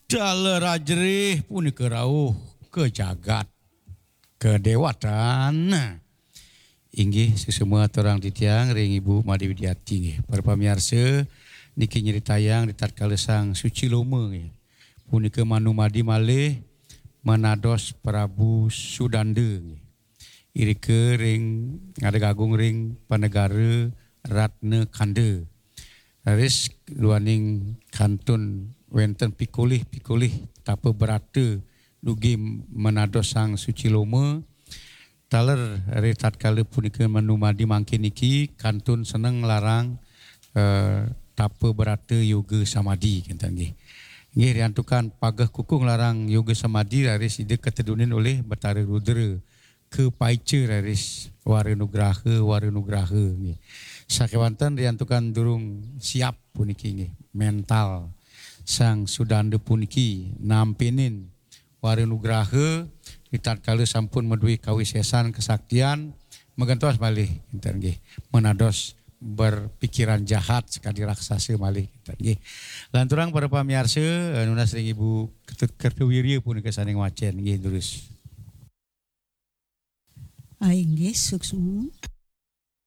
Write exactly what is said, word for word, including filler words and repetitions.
Taler ajerih punika rauh ka jagat kadéwatan. Inggih, suksma aturang titiang ring Ibu Madé Widiati nggih. Para pamiarsa, niki nyritayang ritatkala Sang Suci Loma nggih. Punika manumadi malih manados Prabu Sudanda nggih. Irika ring, ngadeg agung ring panegara Ratna Kanda. Raris duaning kantun wénten pikolih-pikolih tapa brata dugi manados Sang Suci Loma. Taler ritatkala punika manumadi mangkin niki kantun seneng nglarang, eh, tapa brata yoga samadi, kinten nggih. Nggih, riantukan pageh kukuh nglarang yoga samadi raris Ida katedunin olih Betara Rudra kapaica raris wara nugraha, wara nugraha nggih. Sakéwanten riantukan durung siap puniki nggih, mental Sang Sudanda puniki nampinin wara nugraha ritatkala sampun madué kawisésan kasaktian, magentos malih kinten nggih. Manados berpikiran jahat sakadi raksasa malih kinten nggih. Lanturang para pamiarsa, eh, nunas ring Ibu Ketut Kertawirya punika sané ngwacén nggih, durus. Ah, inggih, suksma.